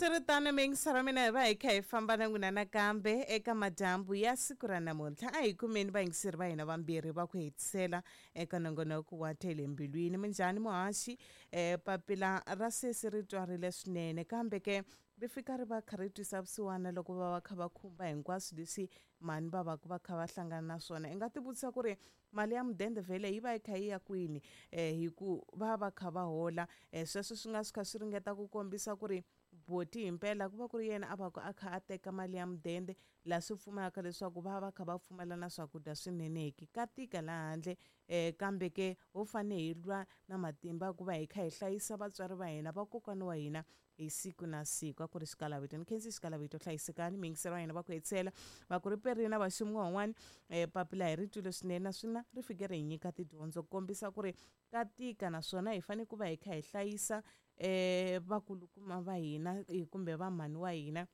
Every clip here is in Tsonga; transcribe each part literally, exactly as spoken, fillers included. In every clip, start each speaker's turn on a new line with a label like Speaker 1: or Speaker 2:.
Speaker 1: Swi ri tano, miyingiselo mina, hi va hi kha hi famba na n'wina nakambe eka madyambu ya siku ra namuntlha. A hi kumeni vayingiseri va hina vambirhi va ku hetisela eka nongonoko wa Tele Mbilwini. Minjhani, muhaxi? um papila ra sesi ri twarile swinene, kambe ke ri fika ri va kha ri twisa vusiwana loko va va kha va khumba hinkwaswo leswi mhani va va va kha va hlangana na swona. I nga tivutisa ku ri mali ya mudende vhele yi va yi kha yi ya kwini, um hi ku va va kha va hola. um sweswo swi nga swi kha swi ringeta ku kombisa ku ri boti himpela ku va ku ri yena a va ku a kha a teka mali ya mudende, laha swi pfumelaka leswaku va va kha va pfumala na swakudya swinene. Ki ka tika laha handle, um kambe ke ho fane hi lwa na matimba ku va hi kha hi hlayisa vatswari va hina, vakokwana wa hina, hi siku na siku. A ku ri xikalavito. Ni khensi xikalavito. Hlayisekani, miyingiselo wa hina va ku hetisela va ku ri perina vaxumi van'wani. um papila hi ri twile swinene, naswona ri fike ri hi nyika tidyondzo ku kombisa ku ri ka tika, naswona hi fanele ku va hi kha hi hlayisa um vakulukuma va hina kumbe va mhani wa hina,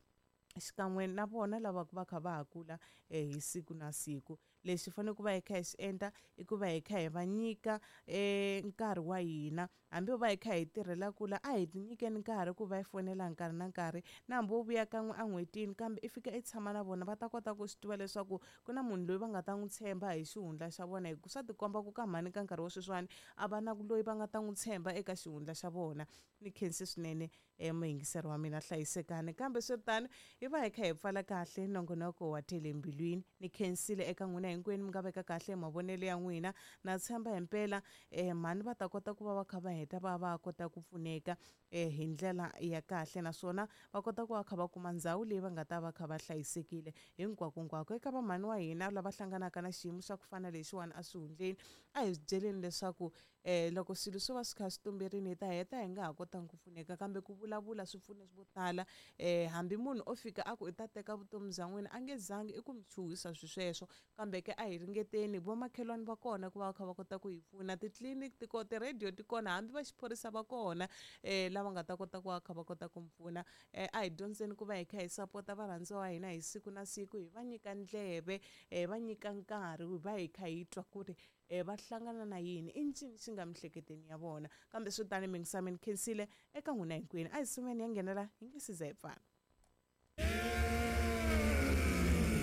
Speaker 1: xikan'we na vona lava va kha va ha kula um hi siku na siku. Lexi fanele ku va hi kha hi swi endla i ku va hi kha hi va nyika um nkarhi wa hina. Hambi va hi kha hi tirhela kula, a hi ti nyikeni nkarhi ku va hi fonela nkarhi na nkarhi, na hambi wo vuya kan'we en'hwetini, kambe i fika i tshama na vona, va ta kota ku swi tiva leswaku ku na munhu loyi va nga ta n'wi tshemba hi xihundla xa vona. Hi ku swa tikomba ku ka mhani ka nkarhi wa sweswiwani a va na loyi va nga ta n'wi tshemba eka xihundla xa vona. Ni khensi swinene um muyingiseri wa mina, hlayisekani. Kambe swi ri tano, hi va hi kha hi pfala kahle nongonoko wa Tele Mbilwini. Ni khensile eka n'wina hinkwenu mi nga veka kahle mavonelo ya n'wina. Na tshemba himpela um mhani va ta kota ku va va kha va heta va va kota ku pfuneka um hi ndlela ya kahle, naswona va kota ku va kha va kuma ndhawu leyi va nga ta va kha va hlayisekile hinkwakonkwako. Eka vamhani wa hina lava hlanganaka na xiyimo xa ku fana lexiwani eswihundleni, a hi byeleni leswaku um loko swilo swo va swi kha swi tumberini, hi ta heta hi nga ha kotangi ku pfuneka, kambe ku vulavula swi pfune vo tala. um hambi munhu o fika a ku i ta teka vutomi bya n'wina, a nge zangi i ku mi chuhisa swi sweswo, kambe ke a hi ringeteni. Vomakhelwani va kona ku va va kha va kota ku hi pfuna, titliliniki ti kona, ti-radio ti kona, hambi va xiphorisa va kona um lava nga ta kota ku va kha va kota ku mi pfuna. um a hi dyondzeni ku va hi kha hi sapota varhandziwa wa hina hi siku na siku, hi va nyika ndleve, um va nyika nkarhi, va hi kha hi twa ku ri um va hlangana na yini, i ncini xi nga miehleketweni ya vona. Kambe swi tani, mingisami, ni khensile eka n'wina hinkwenu. A hi sumeni ya nghenela, hi nge siza hi pfala.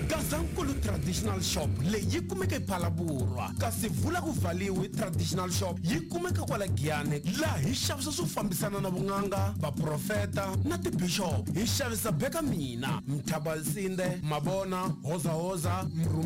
Speaker 2: Gazankulu Traditional Shop leyi yi kumeka ePhalaborwa, kasi Vula ku Valiwi Traditional Shop yi kumeka kwala Giyani, laha hi xavisa swo fambisana na vun'anga, vaprofeta na tibishop. Hi xavisa beka mina mthabalsinde mabona hozahoza mrhumi.